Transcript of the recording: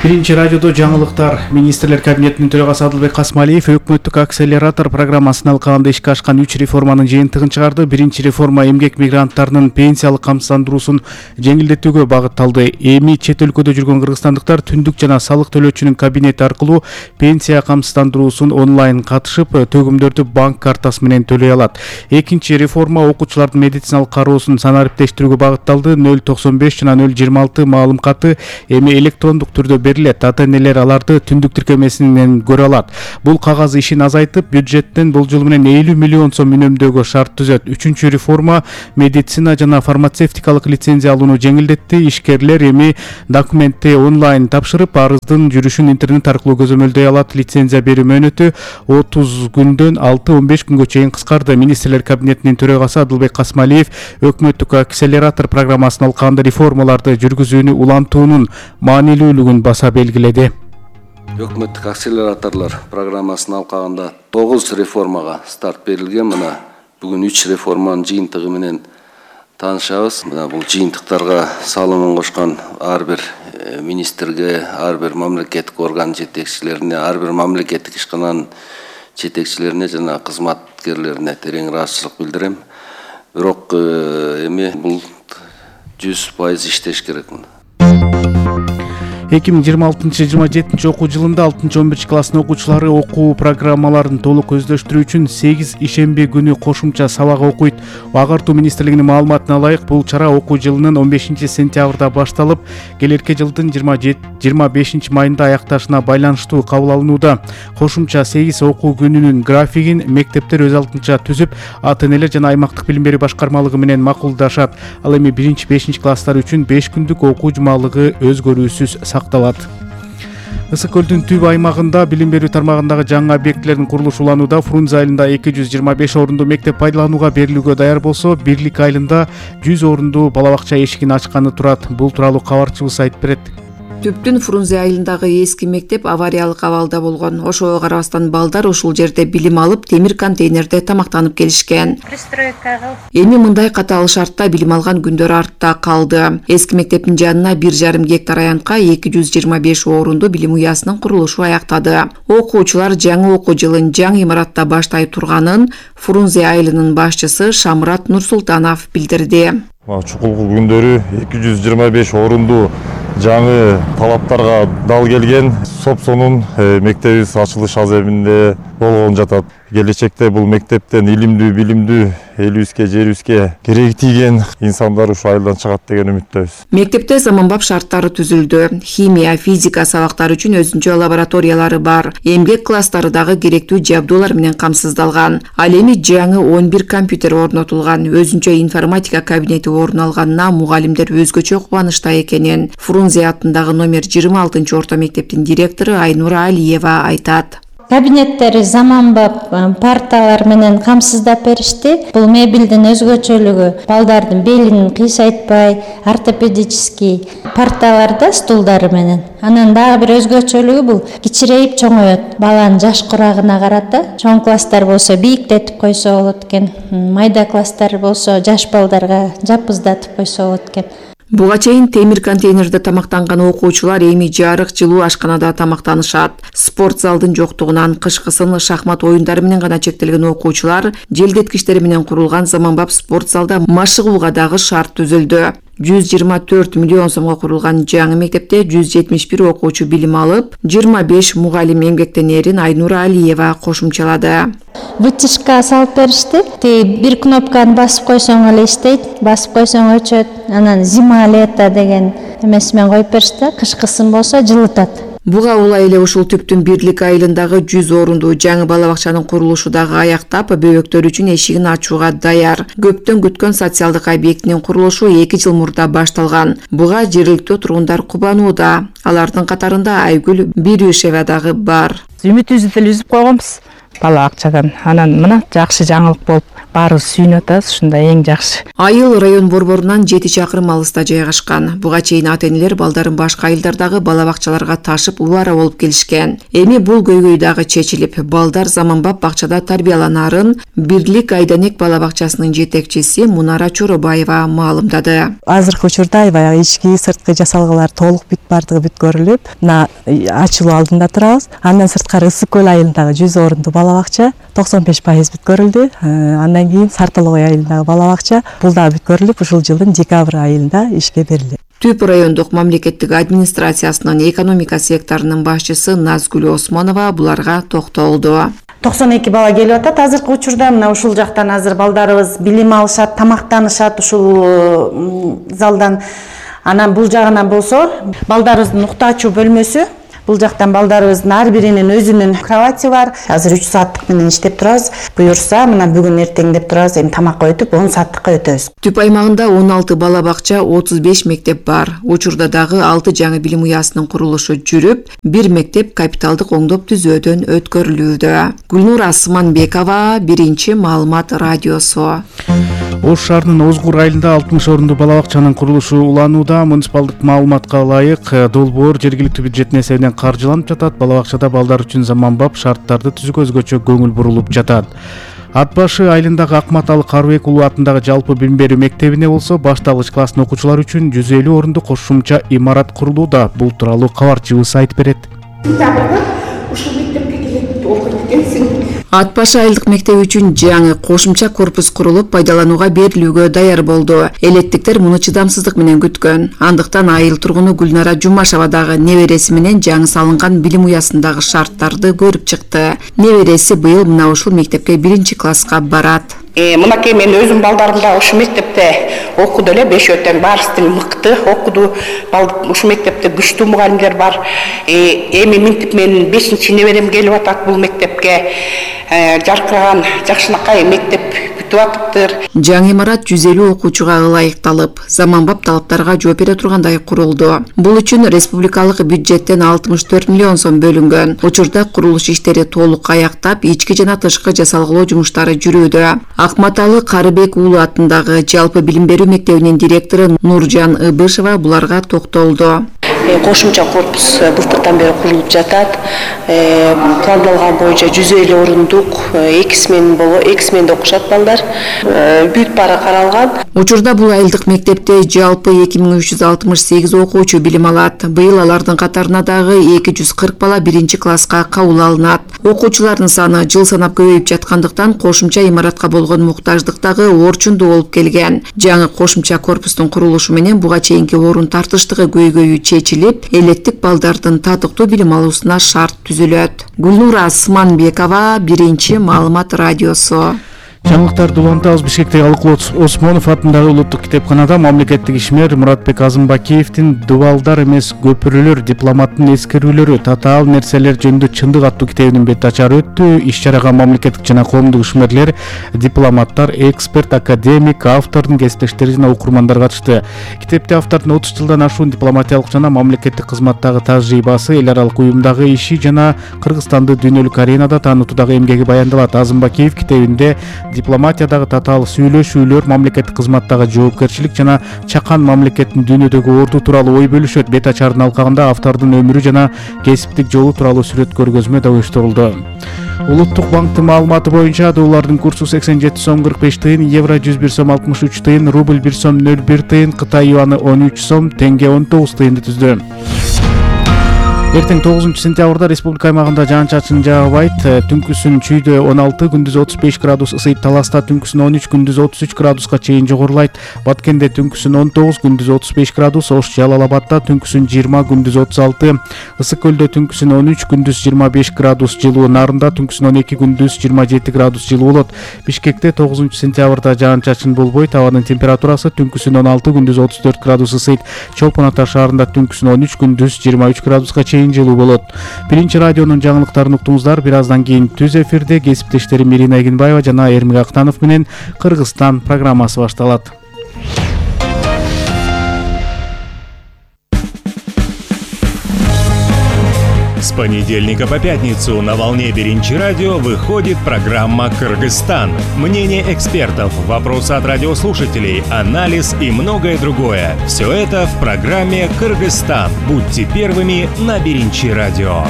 Биринчи радиодо жаңылыктар. Министрлер кабинетинин төрагасы Адылбек Касмалиев өкмөттүк акселератор программасын алкагында ишке ашкан 3 реформанын жыйынтыгын чыгарды. Биринчи реформа эмгек мигранттарынын пенсиялык камсыздандыруусун жеңилдетүүгө багытталды. Эми чет өлкөдө жүргөн кыргызстандыктар түндүк жана салык төлөөчүнүн кабинети аркылуу пенсия камсыздандыруусун онлайн катышып, төгүмдөрдү банк картасы менен төлөй алат. Экинчи реформа окуучулардын медициналык кароосун санариптештирүүгө багытталды. 095 жана 026 маалым каты эми электрондук түрдө берилет. Ата-энелер аларды түндүк тиркемесинен көрө алат. Бул кагаз ишин азайтып, бюджеттен бул жыл менен 50 миллион сом үнөмдөөгө шарт түзөт. Үчүнчү реформа медицина жана фармацевтикалык лицензия алууну жеңилдетти. Ишкерлер эми документти онлайн тапшырып, арыздын жүрүшүн интернет аркылуу көзөмөлдөй алат. Лицензия берүү мөөнөтү 30 күндөн 6-15 күнгө чейин кыскарды. Министрлер кабинетинин төрагасы Адылбек Касмалиев өкмөттүк акселератор программасын алкагында реформаларды жүргүзүүнү улантуунун маанилүүлүгүн баса белгиледи. Өкмөттүк акселераторлор программасын алкагында 9 реформага старт берилген. Мына бүгүн 3 реформанын жыйынтыгы менен таанышабыз. Мына бул жыйынтыктарга салымын кошкон ар бир министрге, ар бир мамлекеттик орган жетекчилерине, ар бир мамлекеттик ишкананын жетекчилерине жана кызматкерлерине терең ыраазычылык билдирем. Бирок эми бул 100% иштеш керек. 2026-27 окуу жылында 6-11 класстын окуучулары окуу программаларын толук өздөштүрүү үчүн 8 ишемби күнү кошумча сабак окуйт. Агартуу министрлигинин маалыматына ылайык, бул чара окуу жылынын 15 сентябрда башталып, келерки жылдын 25 майында аякташына байланыштуу кабыл алынууда. Кошумча 8 окуу күнүнүн графигин мектептер өз алдынча түзүп, ата-энелер жана аймактык билим берүү башкармалыгы менен макулдашат. Ал эми 1-5 класстар үчүн 5 күндүк окуу жумалыгы өзгөрүүсүз сакталат. Ысык көлдүн түбү аймагында билим берүү тармагындагы жаңы объектилердин курулушу уланууда. Фрунзе айылында 225 орунду мектеп пайдаланууга берилүүгө даяр болсо, Бирлик айылында 100 орунду бала бакча эшигин ачканы турат. Бул тууралуу кабарчыбыз айтып берет. Түптүн Фрунзе айылындагы эски мектеп авариялык абалда болгон. Ошого карабастан балдар ушул жерде билим алып, темир контейнерде тамактанып келишкен. Эми мындай катаал шартта билим алган күндөр артта калды. Эски мектептин жанына 1,5 гектар аянтка 225 орунду билим уясынын курулушу аяктады. Окуучулар жаңы окуу жылын жаңы имаратта баштай турганын Фрунзе айылынын башчысы Шамрат Нурсултанов билдирди. Чукулкул күндөрү 225 орунду жаңы талаптарга дал келген Сопсонун мектебибиз ачылыш аземинде болгон жатат. Келечекте бул мектептен илимдүү, билимдүү, элибизге, жерибизге кереги тийген инсандар ушул айылдан чыгат деген үмүттөбүз. Мектепте заманбап шарттары түзүлдү. Химия, физика сабактары үчүн өзүнчө лабораториялары бар. Эмгек класстары дагы керектүү жабдуулар менен камсыздалган. Ал эми жаңы 11 компьютер орнотулган. Өзүнчө информатика кабинети орун алганына мугалимдер өзгөчө кубанычта экенин Фрунзе атындагы номер 26 орто мектептин директору Айнура Алиева айтат. Кабинеттери заманбап парталар менен камсыздап беришти. Бул мебелдин өзгөчөлүгү балдардын белин кыйсайтпай, ортопедический парталарда стулдары менен. Анан дагы бир өзгөчөлүгү бул кичирейип чоңоет. Баланын жаш курагына карата. Чоң класстар болсо бийиктетип койсо болот экен. Майда класстар болсо жаш балдарга жапыздатып койсо болот экен. Буга чейин темир контейнерде тамактанган окуучулар эми жарык жылуу ашканада тамактанышат. Спорт залдын жоктугунан кышкысын шахмат оюндары менен гана чектелген окуучулар желдеткичтери менен курулган заманбап спорт залда машыгууга дагы шарт түзүлдү. 124 миллион сомго курулган жаңы мектепте 171 окуучу билим алып, 25 мугалим эмгектенерин Айнура Алиева кошумчалады. Вытяжка салып беришти. Бир кнопканы басып койсоң эле иштейт, басып койсоң өчөт. Анан зима лето деген эмеси менен коюп беришти. Кышкысын болсо жылытат. Буга улай эле ушул Түптүн Бирлик айылындагы 100 орунду жаңы бала бакчанын курулушу дагы аяктап, бөбөктөр үчүн эшигин ачууга даяр. Көптөн күткөн социалдык объектинин курулушу 2 жыл мурда башталган. Буга жергиликтүү тургундар кубанууда. Алардын катарында Айгүл Бирюшева дагы бар. Үмүтүбүздү деле үзүп койгонбуз. бала бакчадан. Анан мына жакшы жаңылык болуп баарыбыз сүйүнүп атабыз. Ушунда эң жакшы. Айыл район борборунан 7 чакырым алыста жайгашкан. Буга чейин ата-энелер балдарын башка айылдардагы бала бакчаларга ташып убара болуп келишкен. Эми бул көйгөй дагы чечилип, балдар заманбап бакчада тарбияланарын Бирлик Айданек бала бакчасынын жетекчиси Мунара Чоробаева маалымдады. Азыркы учурда аябай ички сырткы жасалгалар толук бардыгы бүткөрүлүп, мына ачылуу алдында турабыз. Андан сырткары Ысык көл айылындагы 100 орундуу бала бакча 95% бүткөрүлдү. Андан кийин Сартолой айылындагы бала бакча бул дагы бүткөрүлүп, ушул жылдын декабрь айында ишке берилди. Түп райондук мамлекеттик администрациясынын экономика секторунун башчысы Назгүл Осмонова буларга токтолду. 92 бала келип атат азыркы учурда. Мына ушул жактан азыр балдарыбыз билим алышат, тамактанышат ушул залдан. Анан бул жагынан болсо балдарыбыздын уктаа ачуу бөлмөсү. Бул жактан балдарыбыздын ар биринин өзүнүн кровати бар. Азыр 3 сааттык менен иштеп турабыз. Буюрса, мына бүгүн эртең деп турабыз. Эми тамакка өтүп 10 сааттыкка өтөбүз. Түп аймагында 16 бала бакча, 35 мектеп бар. Учурда дагы 6 жаңы билим уясынын курулушу жүрүп, 1 мектеп капиталдык оңдоп түзөөдөн өткөрүлүүдө. Гүлнур Асманбекова, Биринчи маалымат радиосу. Ош шаарынын Озгур айылында 60 орундуу бала бакчанын курулушу уланууда. Муниципалдык маалыматка ылайык, долбоор жергиликтүү бюджеттин эсебинен каржыланып жатат. Бала бакчада балдар үчүн заманбап шарттарды түзүүгө өзгөчө көңүл бурулуп жатат. Ат башы айылындагы Акматалы Карыбек уулу атындагы жалпы билим берүү мектебине болсо башталгыч класстын окуучулары үчүн 150 орундуу кошумча имарат курулууда. Бул тууралуу кабарчыбыз айтып берет. Ушул мектепке келет окуйт экенсиң. Ат башы айылдык мектеби үчүн жаңы кошумча корпус курулуп пайдаланууга берилүүгө даяр болду. Элеттиктер муну чыдамсыздык менен күткөн. Андыктан айыл тургуну Гүлнара Жумашева дагы небереси менен жаңы салынган билим уясындагы шарттарды көрүп чыкты. Небереси быйыл мына ушул мектепке 1-класска барат. Мынакей мен өзүм балдарымда ушу мектепте окуду эле, 5 өтөн баарысы мыкты окуду. Ушу мектепте күчтүү мугалимдер бар. Эми минтип менин 5-неберем келип атат бул мектепке. Жаркыраган жакшынакай мектеп бүтүп атыптыр. Жаңы имарат 150 окуучуга ылайыкталып, заманбап талаптарга жооп бере тургандай курулду. Бул үчүн республикалык бюджеттен 64 миллион сом бөлүнгөн. Учурда курулуш иштери толук аяктап, ички жана тышкы жасалгалоо жумуштары жүрүүдө. Акматалы Карыбек уулу атындагы жалпы билим берүү мектебинин директору Нуржан Ыбышева буларга токтолду. Кошумча корпус былтырдан бери курулуп жатат. Пландалган боюнча 150 орундук, 2 сменде окушат балдар. Бүт баары каралган. Учурда бул айылдык мектепте жалпы 2368 окуучу билим алат. Быйыл алардын катарына дагы 240 бала 1-класска кабыл алынат. Окуучулардын саны жыл санап көбөйүп жаткандыктан кошумча имаратка болгон муктаждык дагы орчундуу болуп келген. Жаңы кошумча корпустун курулушу менен буга чейинки орун тартыштыгы көйгөйү чечилип, элеттик балдардын татыктуу билим алуусуна шарт түзүлөт. Гүлнур Асманбекова, Биринчи маалымат радиосу. Жаңылыктарды улантабыз. Бишкектеги Алыкул Осмонов атындагы улуттук китепканада мамлекеттик ишмер Муратбек Азымбакиевдин «Дубалдар эмес көпүрөлөр, дипломаттын эскерүүлөрү, татаал нерселер жөнүндө чындык» аттуу китебинин бет ачары өттү. Иш-чарага мамлекеттик жана коомдук ишмерлер, дипломаттар, эксперт, академик, автордун кесиптештери жана окурмандар катышты. Китепте автордун 30 жылдан ашуун дипломатиялык жана мамлекеттик кызматтагы тажрыйбасы, эл аралык уюмдагы иши жана Кыргызстанды дүйнөлүк аренада таанытуудагы эмгеги баяндалат. Азымбакиев китебинде дипломатиядагы татаал сүйлөшүүлөр, мамлекеттик кызматтагы жоопкерчилик жана чакан мамлекеттин дүйнөдөгү орду тууралуу ой бөлүшөт. Бет ачардын алкагында автордун өмүрү жана кесиптик жолу тууралуу сүрөт көргөзмө да уюштурулду. Улуттук банктын маалыматы боюнча доллардын курсу 87 сом 45 тыйын, евро 101 сом 63 тыйын, рубль 1 сом 01 тыйын, Кытай юаны 13 сом, тенге 19 тыйынды түздү. Эртең 9-сентябрда республика аймагында жаан-чачын жаагыбайт. Түнкүсүн чүйдө 16, күндүз 35 градус ысыйт. Таласта түнкүсүн 13, күндүз 33 градуска чейин жогорулайт. Баткенде түнкүсүн 19, күндүз 35 градус. Ош Жалал-Абадта түнкүсүн 20, күндүз 36. Ысык көлдө түнкүсүн 13, күндүз 25 градус жылуу. Нарында түнкүсүн 12, күндүз 27 градус жылуу болот. Бишкекте 9-сентябрда жаан-чачын болбойт. Абанын температурасы түнкүсүн 16, күндүз 34 градус ысыйт. Чолпон Ата шаарында түнкүсүн 13, күндүз 23 градуска чейин жылуу болот. Биринчи радионун жаңылыктарын уктуңуздар. Бир аздан кийин түз эфирде кесиптештерим Ирина Эгенбаева жана Эрмек Актанов менен Кыргызстан программасы башталат. С понедельника по пятницу на волне Биринчи радио выходит программа «Кыргызстан». Мнение экспертов, вопросы от радиослушателей, анализ и многое другое. Все это в программе «Кыргызстан». Будьте первыми на Биринчи радио.